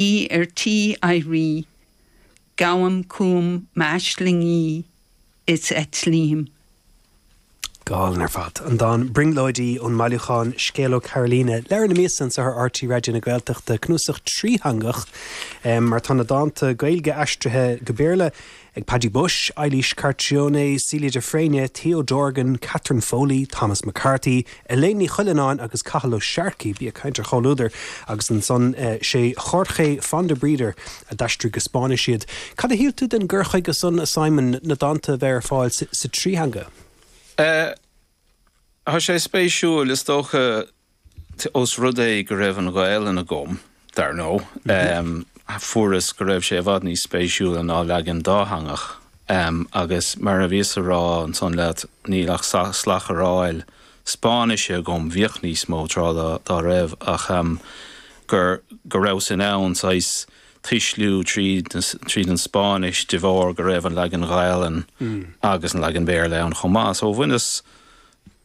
Í ar tí éirí, gabhaim chugam m'aislingí is eitlím. Go hálainn ar fad. An dán 'Brionglóidí' ón mbailiúchán Scéal ó Carolina. Leabhar na Míosa anseo ar RTÉ Raidió na Gaeltachta, cnuasach trítheangach mar tá na dánta Gaeilge aistrithe go Béarla ag Paddy Bushe, Eilís Carcione, Celia de Fréine, Theo Dorgan, Catherine Foley, Thomas McCarthy, Elaine Ní Chuilleanáin agus Cathal Ó Searcaigh, bí ag caint ar chomhluadar, agus ansan sé Jorge Fondebrider a d'aistrigh go Spáinnis iad. Cad a shíl tú den gcur chuige san, a Simon, na dánta a bheith ar fáil sa trí theanga? Tá sé spéisiúil, is dócha. Ós rud é go raibh an Ghaelainn agam, dar ndóigh, fuaireas go raibh sé i bhfad níos spéisiúla ná leagan dátheangach. Agus mar a bhíos a rá ansan leat, níl ach slacharáil Spáinnise agam, bhíodh níos mó tráth dá raibh, ach gur, go rabhas in ann saghas tuisliú tríd, tríd an Spáinnis de bharr go raibh an leagan Ghaelainn agus an leagan Béarla ann chomh maith. So bhaineas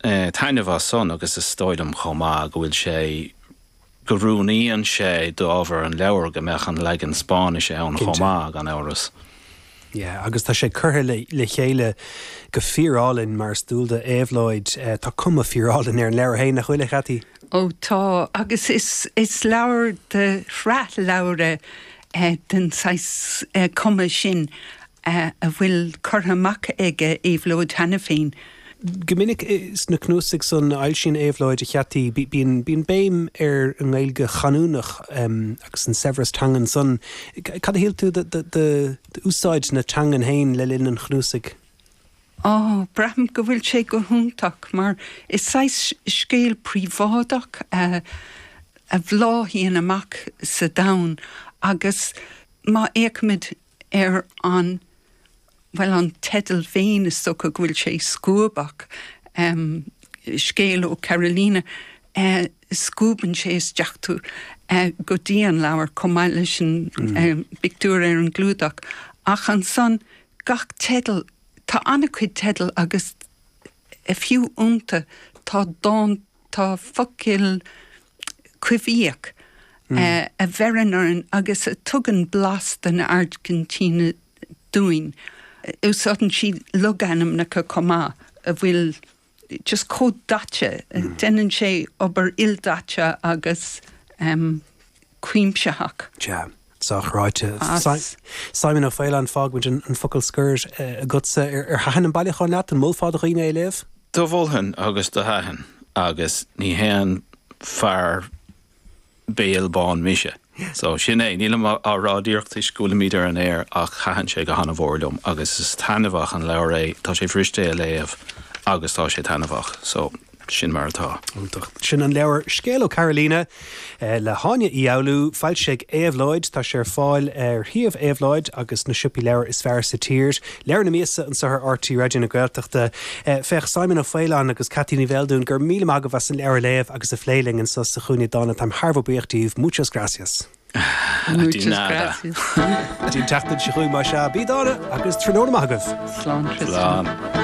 taitneamh as san agus is dóigh liom chomh maith go bhfuil sé, go oiriúnaíonn sé d'ábhar an leabhair go mbeadh an leagan Spáinnise ann chomh maith, gan amhras. Yeah, agus tá sé curtha le chéile go fíorálainn mar is dual d'Éabhlóid. Tá cuma fíorálainn ar an leabhar féin, nach bhfuil, a Cheaití? Ó tá, agus is is leabhar de shraith leabhra den saghas cuma sin a bhfuil curtha amach ag Éabhlóid cheana féin. Go minic sna cnuasaigh san a fhoilsíonn Éabhlóid, a Cheaití, bíonn béim ar an nGaeilge chanúnach agus an saibhreas teangan san. Cad a shíl tú d'úsáid na teangan féin le linn an chnuasaigh? Á, braithim go bhfuil sé go hiontach mar is saghas scéal príobháideach a bhláthaíonn amach sa domhan agus má fhéachaimid ar an, bhuel, an teideal féin, is dócha go bhfuil sé scuabach, Scéal ó Carolina, scuabann sé isteach tú go dtí an leabhar chomh maith leis an bpictiúr ar an gclúdach. Ach ansan, gach teideal, tá an-chuid teideal agus fiú iontu tá dán, Tá focail coimhthíoch a bheireann orainn agus a tugann blas den Airgintín dúinn. Úsáideann sí logainmneacha chomh maith a bhfuil just chomh daite. Déanann sé obair ildaite agus cuimsitheach. Sea. Sách ráite. Simon Ó Faoláin, fágfaimid an focal scoir agatsa. Ar thaitin an bailiúchán leat? An molfá do dhaoine é a léamh? Do mholfainn agus do thaitin agus ní haon fear béal bán mise. So sin é, nílim á rá díreach toisc go bhfuilimid ar an aer ach thaitin sé go han-mhór liom agus is taitneamhach an leabhar é, tá sé fuirist é a léamh agus tá sé taitneamhach. So. Sin mar atá. Iontach. Sin an leabhar Scéal ó Carolina le hÁine Uí Fhoghlú, foilsithe ag Éabhlóid. Tá sé ar fáil ar shuíomh Éabhlóid agus sna siopaí leabhar is fearr sa tír. Leabhar na míosa anseo ar RTÉ Raidió na Gaeltachta. Féach, Simon Ó Faoláin agus Ceaití Ní Bheildiúin, go raibh míle maith agaibh as an leabhar a léamh agus a phlé linn anseo sa Chúinne Dána. Táim thar a bheith buíoch díbh. Muchas gracias. Muchas gracias. Go dtí an tseachtain seo chugainn más ea. Bí dána agus tráthnóna maith agaibh. Slán Tristan. Slán.